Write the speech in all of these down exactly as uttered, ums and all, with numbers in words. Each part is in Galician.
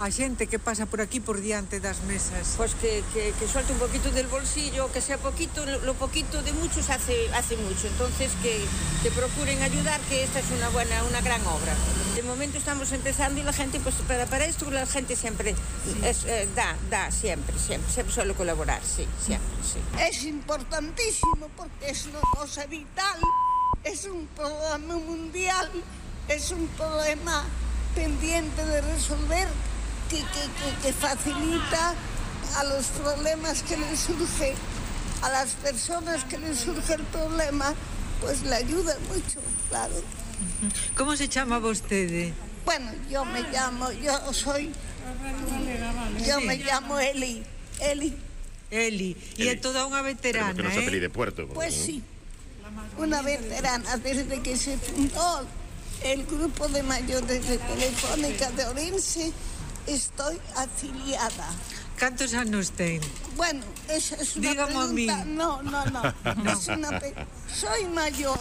A xente que pasa por aquí por diante das mesas. Pues que, que, que suelte un poquito del bolsillo, que sea poquito, lo poquito de muchos hace, hace mucho. Entonces que, que procuren ayudar, que esta es una buena, una gran obra. De momento estamos empezando y la gente, pues para, para esto la gente siempre sí. es, eh, da, da, siempre, siempre, siempre suele colaborar, sí, siempre, sí. Es importantísimo porque es una cosa vital, es un problema mundial, es un problema pendiente de resolver. Que, que, que, que facilita a los problemas que les surge, a las personas que les surge el problema, pues le ayuda mucho, claro. ¿Cómo se llama vostede? Bueno, yo me llamo, yo soy, yo me llamo Eli, Eli. Eli, y es toda una veterana, que no se ¿eh? de puerto. Pues sí, una veterana desde que se fundó el grupo de mayores de Telefónica de Orense. Estoy afiliada. ¿Cuántos años ten? Bueno, esa es una Dígame pregunta. A mí. No, no, no. no. Es una pe... Soy mayor.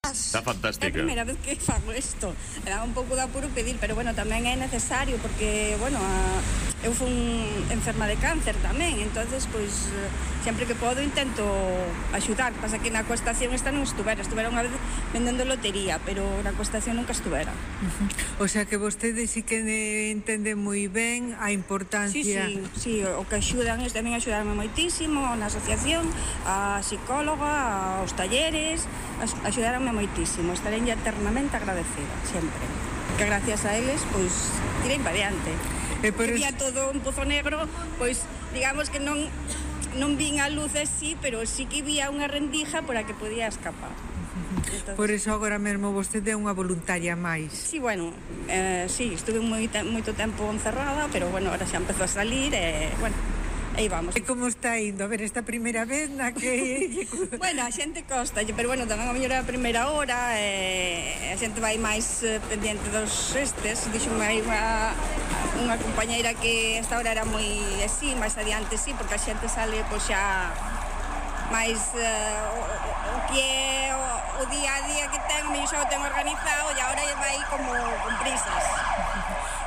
Está fantástica. É a primeira vez que fago isto. Era un pouco de apuro pedir, pero bueno, tamén é necesario porque, bueno, a, eu fui enferma de cáncer tamén, entonces, pois, sempre que podo intento axudar. Pasa que na coestación esta non estuvera, estuvera unha vez vendendo lotería, pero na coestación nunca estuvera. O sea que vostede sí que entende moi ben a importancia. Sí, sí, sí, o que axudan, tamén axudaronme moitísimo na asociación, a psicóloga, aos talleres, axudaronme moitísimo, estarei eternamente agradecida, sempre. Que gracias a eles, pois, tirei para diante. E por Que vía todo un pozo negro, pois, digamos que non non vin a luz así, pero sí que vía unha rendija por a que podía escapar. Entonces, por eso agora mesmo vostede é unha voluntaria máis. Sí, bueno, eh, sí, estuve moito, moito tempo encerrada, pero bueno, ahora xa empezou a salir e, bueno, aí vamos. E como está indo? A ver, esta primeira vez na que... Bueno, a xente costa, pero bueno, tamén a mellor é a primeira hora, e a xente vai máis eh, pendiente dos estes. Dixo hai unha, unha compañeira que esta hora era moi así, máis adiante sí, porque a xente sale pois xa máis uh, o, o que é o, o día a día que ten, eu xa o ten organizado e agora vai como con prisas.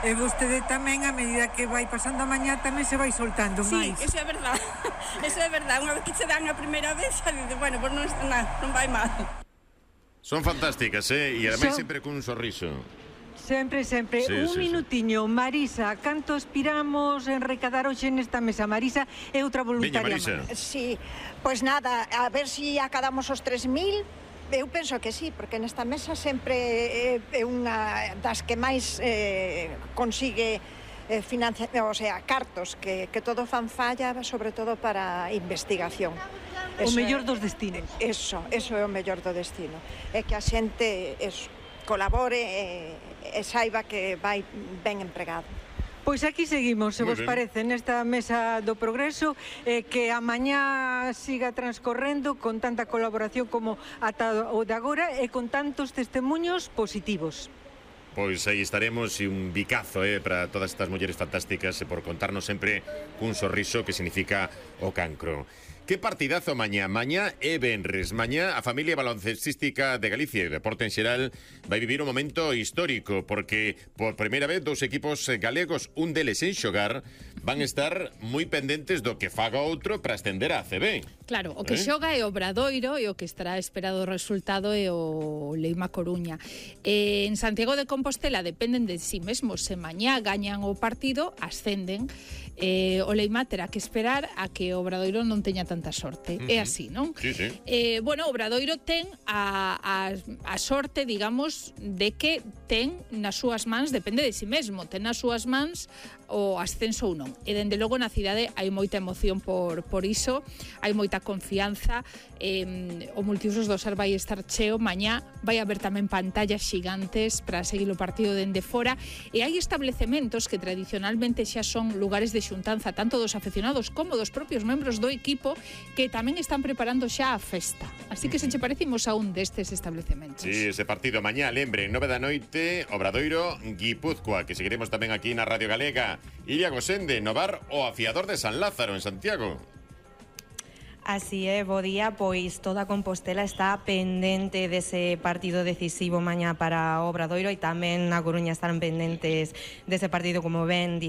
E vostede tamén, a medida que vai pasando a mañá, tamén se vai soltando máis. Sí, eso é verdade. Eso é verdade. Unha vez que se dan a primeira vez, xa dice, bueno, pois non, non, non vai mal. Son fantásticas, eh? E ademais Son... sempre cun sorriso. Sempre, sempre. Sí, un sí, minutiño. Sí. Marisa, canto aspiramos en recadar hoxe nesta mesa? Marisa é outra voluntaria. Veña, Marisa. Sí, pois nada, a ver se si acadamos os tres mil. Eu penso que sí, porque nesta mesa sempre é unha das que máis eh, consigue eh, financiar, o sea, cartos, que, que todo fan falla, sobre todo para investigación. O mellor dos destinos. Eso, eso é o mellor do destino. É que a xente eso, colabore e, e saiba que vai ben empregado. Pois aquí seguimos, se Muy vos bien. parece, nesta mesa do progreso, eh, que a mañá siga transcorrendo con tanta colaboración como ata o de agora e con tantos testemunhos positivos. Pois aí estaremos e un bicazo eh, para todas estas mulleres fantásticas e por contarnos sempre cun sorriso que significa o cancro. Que partidazo mañá. Mañá é venres. Mañá a familia baloncestística de Galicia e deporte en xeral vai vivir un momento histórico porque por primeira vez dous equipos galegos, un deles en xogar, van estar moi pendentes do que faga outro para ascender a A C B. Claro, o que eh? xoga é o Obradoiro e o que estará esperado o resultado é o Leima Coruña. Eh, en Santiago de Compostela dependen de si mesmos. Se mañá gañan o partido, ascenden. Eh, o Leima terá que esperar a que o Obradoiro non teña tanta sorte. Uh-huh. É así, non? Sí, sí. Eh, bueno, o Obradoiro ten a, a, a sorte, digamos, de que ten nas súas mans, depende de si mesmo, ten nas súas mans o ascenso ou non. E dende logo na cidade hai moita emoción por, por iso, hai moita confianza, eh, o multiusos do Sar vai estar cheo, mañá vai haber tamén pantallas xigantes para seguir o partido dende fora, e hai establecementos que tradicionalmente xa son lugares de xuntanza tanto dos aficionados como dos propios membros do equipo que tamén están preparando xa a festa. Así que se che parecimos a un destes establecementos. Sí, ese partido mañá, lembre, nove da noite, Obradoiro, Guipúzcoa, que seguiremos tamén aquí na Radio Galega. Iria Gosende, no bar O Afiador de San Lázaro, en Santiago. Así é, bo día, pois toda Compostela está pendente dese partido decisivo mañá para Obradoiro e tamén na Coruña estarán pendentes dese partido, como ben dixo